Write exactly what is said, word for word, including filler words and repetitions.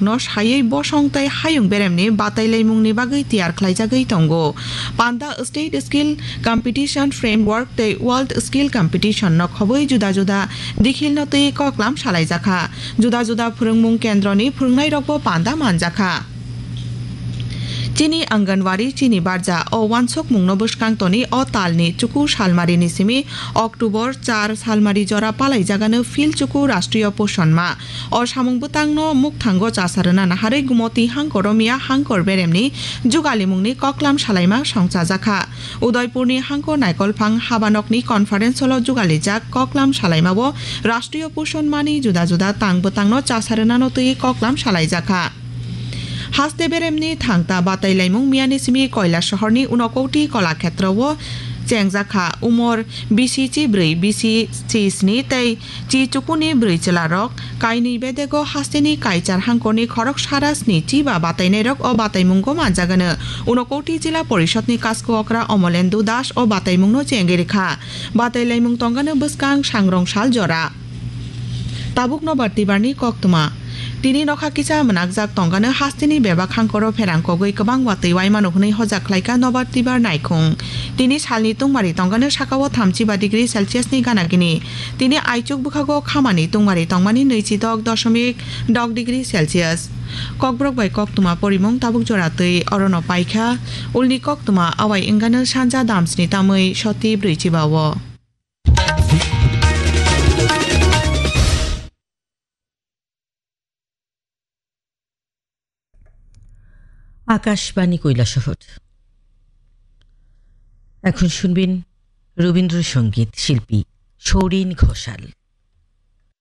no saywi bosong tei hayung beremni batailaimungni bagwi tiyar khlaijagwi tongo. Panda State Skill Competition Framework tei World Skill Competition no khobwi juda juda dikhil no twi koklam salaijakha. Juda juda phwrwngmung kendroni phwrwngnairokbo panda manjakha. Chini Anganwadi, chini barja, o wansukmungno bwskang toni o talni chuku salmarini simi October char salmari jora palaijagano Phil Chuku Rashtriya Poshan Ma. O samung bwtangno mukthango chasarwna naharwi Gumoti hangkoro miya hangkor beremni jugalimungni koklam salaima songchajakha. Udaipurni hangkor naikolphang habanokni conference hall-o jugalijak koklam salaimao Rashtriya Poshan Mani juda juda tang bwtangno chasarwnano twi koklam salaijakha. Haste beremni thangta batailaimung miyani simi Koila sohorni Unakoti Kolakhetrowo chengjakha. Umor bisi chibrwi, bisi chisni tei chi chukuni brwi chwlarok kainwi bedego hasteni kaichar hangkorni khorok sara sni chiba batainairok o bataimungo manjagano. Unakoti Jila Porishodni Kasko Okra Omolendu Das o bataimungno chengwi rikha. Batailaimung tongano bwskang sangrong sal jora. Tabuk Nobar Tibarni koktwma. Tini nokha kisa mwnakjak tongano hasteni bebak hangkoro pherang kogwi kwbang watwi waimano hwnwi hojak khlaika Nobar Tibar naikhung. Tini salni tungmari tongano sakao thamchiba degree Celsius ni gana gini. Tini aichuk bwkhago khamani tungmari tongmani nwichi dok doshomik dok degree Celsius. Kokborok bai koktwma porimung tabuk jora twi orono paikha. Ulni koktwma awai wngano sanja damsni tamwi soti brwi chiba o. Akashvani কৈলাসহর। এখন শুনবেন রবীন্দ্রসঙ্গীত শিল্পী সৌরিন ঘোষাল।